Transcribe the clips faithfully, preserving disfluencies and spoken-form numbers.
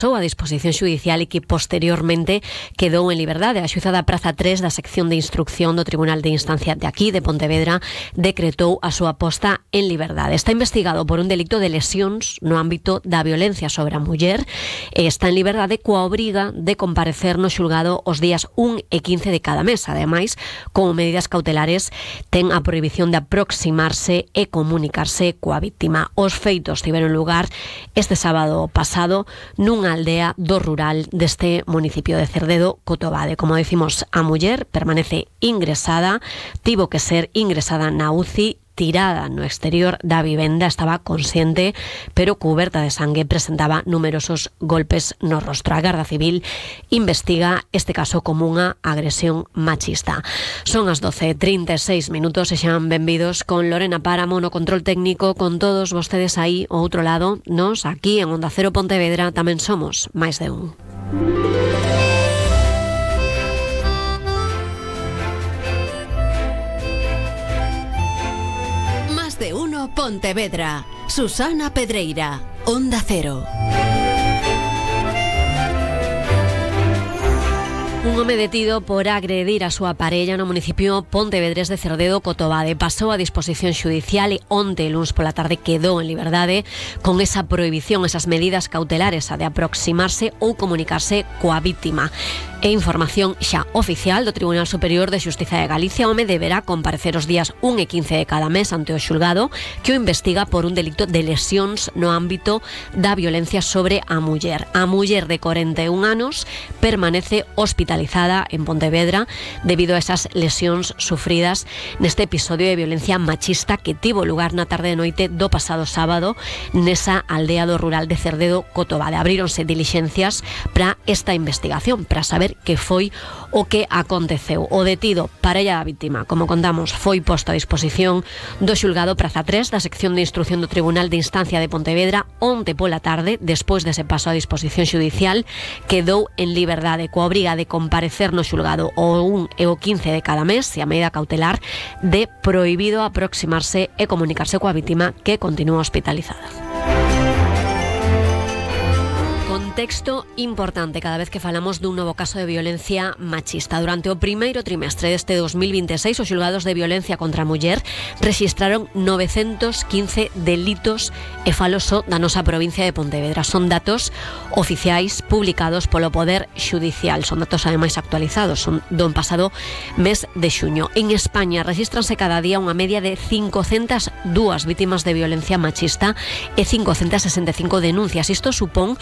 a disposición xudicial e que posteriormente quedou en liberdade. A xuíza da Praza tres da sección de instrucción do Tribunal de Instancia de aquí, de Pontevedra, decretou a súa posta en liberdade. Está investigado por un delito de lesións no ámbito da violencia sobre a muller e está en liberdade coa obriga de comparecer no xulgado os días un e quince de cada mes. Ademais, como medidas cautelares, ten a prohibición de aproximarse e comunicarse coa víctima. Os feitos tiveron lugar este sábado pasado nunha aldea do rural deste municipio de Cerdedo, Cotobade. Como decimos, a muller permanece ingresada, tivo que ser ingresada na U C I, tirada no exterior da vivenda, estaba consciente, pero cuberta de sangue, presentaba numerosos golpes no rostro. A Garda Civil investiga este caso como unha agresión machista. Son as doce e trinta e seis minutos e xan benvidos con Lorena Páramo no control técnico, con todos vostedes aí ao outro lado. Nos, aquí en Onda Cero Pontevedra, tamén somos máis de un. De uno Pontevedra. Susana Pedreira, Onda Cero. Un home detido por agredir a súa parella no municipio pontevedrés de Cerdedo, Cotobade, pasou a disposición xudicial e onte, luns pola tarde, quedou en liberdade con esa prohibición, esas medidas cautelares, a de aproximarse ou comunicarse coa vítima. E información xa oficial do Tribunal Superior de Xustiza de Galicia, o home deberá comparecer os días un e quince de cada mes ante o xulgado que o investiga por un delito de lesións no ámbito da violencia sobre a muller. A muller de corenta e un anos permanece hospitalizada en Pontevedra debido a esas lesións sufridas neste episodio de violencia machista que tivo lugar na tarde de noite do pasado sábado nesa aldea do rural de Cerdedo, Cotobade. Abríronse dilixencias para esta investigación, para saber que foi o que aconteceu. O detido, parella da vítima, como contamos, foi posto a disposición do xulgado Praza tres da sección de instrucción do Tribunal de Instancia de Pontevedra onte pola tarde. Despois dese paso a disposición xudicial, quedou en liberdade coa obriga de comparecer no xulgado o un e o quince de cada mes e a medida cautelar de prohibido aproximarse e comunicarse coa vítima, que continúa hospitalizada. Contexto importante cada vez que falamos dun novo caso de violencia machista. Durante o primeiro trimestre deste dos mil vinte e seis, os xulgados de violencia contra a muller rexistraron novecentos quince delitos e falo só da nosa provincia de Pontevedra. Son datos oficiais publicados polo Poder Xudicial. Son datos ademais actualizados, son do pasado mes de xuño. En España rexistranse cada día unha media de cincocentas dúas vítimas de violencia machista e cincocentas sesenta e cinco denuncias. Isto supón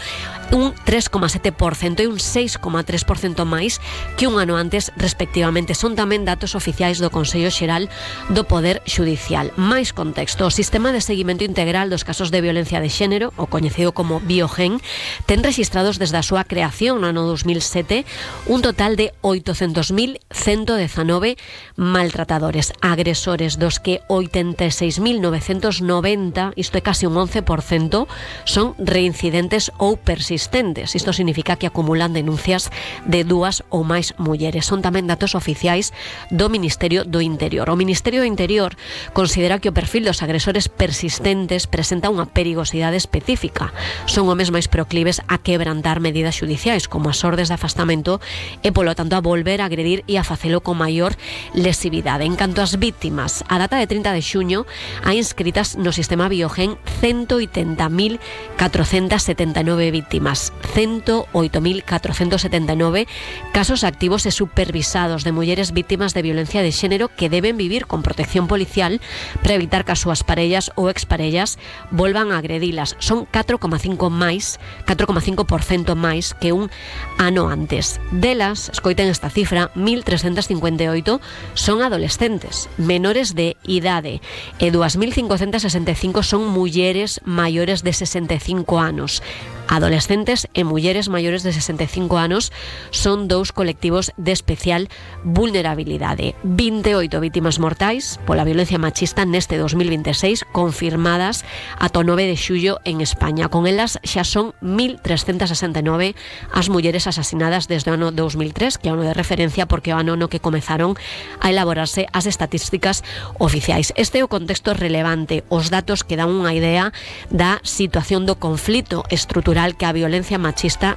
un tres coma sete por cento e un seis coma tres por cento máis que un ano antes, respectivamente. Son tamén datos oficiais do Consello Xeral do Poder Xudicial. Máis contexto: o Sistema de Seguimento Integral dos Casos de Violencia de Xénero, o coñecido como Biogen, ten registrados desde a súa creación no ano dos mil sete un total de oitocentos mil ciento dezanove maltratadores, agresores, dos que oitenta e seis mil novecentos noventa, isto é casi un once por cento, son reincidentes ou persistentes. Isto significa que acumulan denuncias de dúas ou máis mulleres. Son tamén datos oficiais do Ministerio do Interior. O Ministerio do Interior considera que o perfil dos agresores persistentes presenta unha perigosidade específica. Son homes máis proclives a quebrantar medidas xudiciais, como as ordes de afastamento, e polo tanto a volver a agredir e a facelo con maior lesividade. En canto ás vítimas, a data de trinta de xuño hai inscritas no sistema Biogen ciento oitenta mil catrocentas setenta e nove vítimas, ciento oito mil catrocentos setenta e nove casos activos e supervisados de mulleres vítimas de violencia de xénero que deben vivir con protección policial para evitar que as súas parellas ou exparellas volvan a agredilas. Son catro coma cinco máis, catro coma cinco por cento máis que un ano antes. Delas, escoiten esta cifra, mil trescentos cincuenta e oito son adolescentes, menores de idade, e dous mil cincocentos sesenta e cinco son mulleres maiores de sesenta e cinco anos. Adolescentes e mulleres maiores de sesenta e cinco anos son dous colectivos de especial vulnerabilidade. vinte e oito vítimas mortais pola violencia machista neste dos mil vinte e seis confirmadas ata o nove de xullo en España. Con elas xa son mil trescentos sesenta e nove as mulleres asasinadas desde o ano dos mil tres, que é o ano de referencia porque é o ano no que comezaron a elaborarse as estatísticas oficiais. Este é o contexto relevante, os datos que dan unha idea da situación do conflito estrutural xeral que a violencia machista